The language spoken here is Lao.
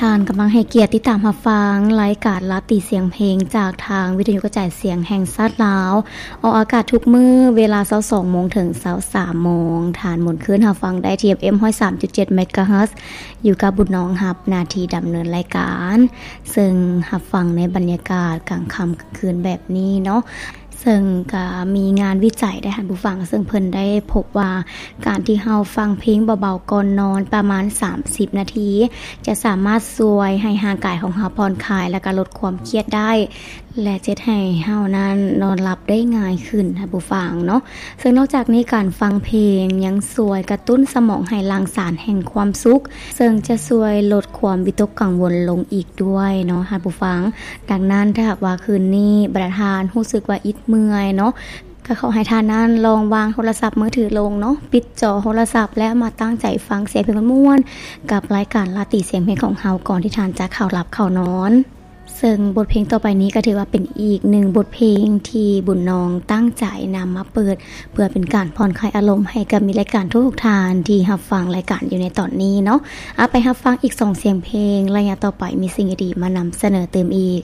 ທ່ານກຳລັງໃຫ້ກຽດຕິດຕາມຮັບຟັງລາຍການລາຕີສຽງເພງ ຈາກທາງວິທະຍຸກະຈາຍສຽງແຫ່ງຊາດລາວ, ອອກອາກາດທຸກມື້ເວລາຊາວສອງໂມງເຖິງຊາວສາມໂມງ. ທ່ານໝູນຄື້ນຮັບຟັງໄດ້ທີ່ ເອັຟເອັມ ຮ້ອຍສາມຈຸດເຈັດ ເມກາເຮີດ ຢູ່ກັບບຸນນອງຮັບໜ້າທີ່ດຳເນີນລາຍການ, ເຊິ່ງຮັບຟັງໃນບັນຍາກາດກາງຄ່ຳກາງຄືນແບບນີ້ເນາະ. ເຊິ່ງກະມີງານວິໄຈໄດ້ທ່ານຜູ້ຟັງ, ເຊິ່ງເພິ່ນໄດ້ພົບວ່າ ການທີ່ເຮົາຟັງເພງເບົາໆກ່ອນນອນປະມານສາມສິບນາທີ ຈະສາມາດຊ່ວຍໃຫ້ຮ່າງກາຍຂອງເຮົາຜ່ອນຄາຍ ແລະກະລົດຄວາມຄຽດໄດ້ ແລະເຮັດໃຫ້ເຮົານັ້ນນອນຫຼັບໄດ້ງ່າຍຂຶ້ນທ່ານຜູ້ຟັງເນາະ. ເຊິ່ງນອກຈາກນີ້ ການຟັງເພງຍັງຊ່ວຍກະຕຸ້ນສະໝອງໃຫ້ຫຼັ່ງສານແຫ່ງຄວາມສຸກ, ເຊິ່ງຈະຊ່ວຍລົດຄວາມວິຕົກກັງວົນລົງອີກດ້ວຍເນາະທ່ານຜູ້ຟັງ. ດັ່ງນັ້ນ ຖ້າຫາກວ່າຄືນນີ້ບັນດາທ່ານຮູ້ສຶກວ່າອິດເມື່ອຍເນາະ, ກໍຂໍໃຫ້ທ່ານນັ້ນລອງວາງໂທລະສັບມືຖືລົງເນາະ, ປິດຈໍໂທລະສັບ ແລ້ວມາຕັ້ງໃຈຟັງສຽງເພງມ່ວນໆ ກັບລາຍການລາຕີສຽງເພງຂອງເຮົາ ກ່ອນທີ່ທ່ານຈະເຂົ້າຫຼັບເຂົ້ານອນ. ເຊິ່ງບົດເພງຕໍ່ໄປນີ້ກໍຖືວ່າເປັນອີກໜຶ່ງບົດເພງທີ່ບຸນນອງຕັ້ງໃຈນຳມາເປີດ ເພື່ອເປັນການຜ່ອນຄາຍອາລົມໃຫ້ກັບມິດລາຍການທຸກໆທ່ານທີ່ຮັບຟັງລາຍການຢູ່ໃນຕອນນີ້ເນາະ. ເອົາ ໄປຮັບຟັງອີກສອງສຽງເພງ, ໄລຍະຕໍ່ໄປມີສິ່ງດີໆມານຳສະເໜີຕື່ມອີກ.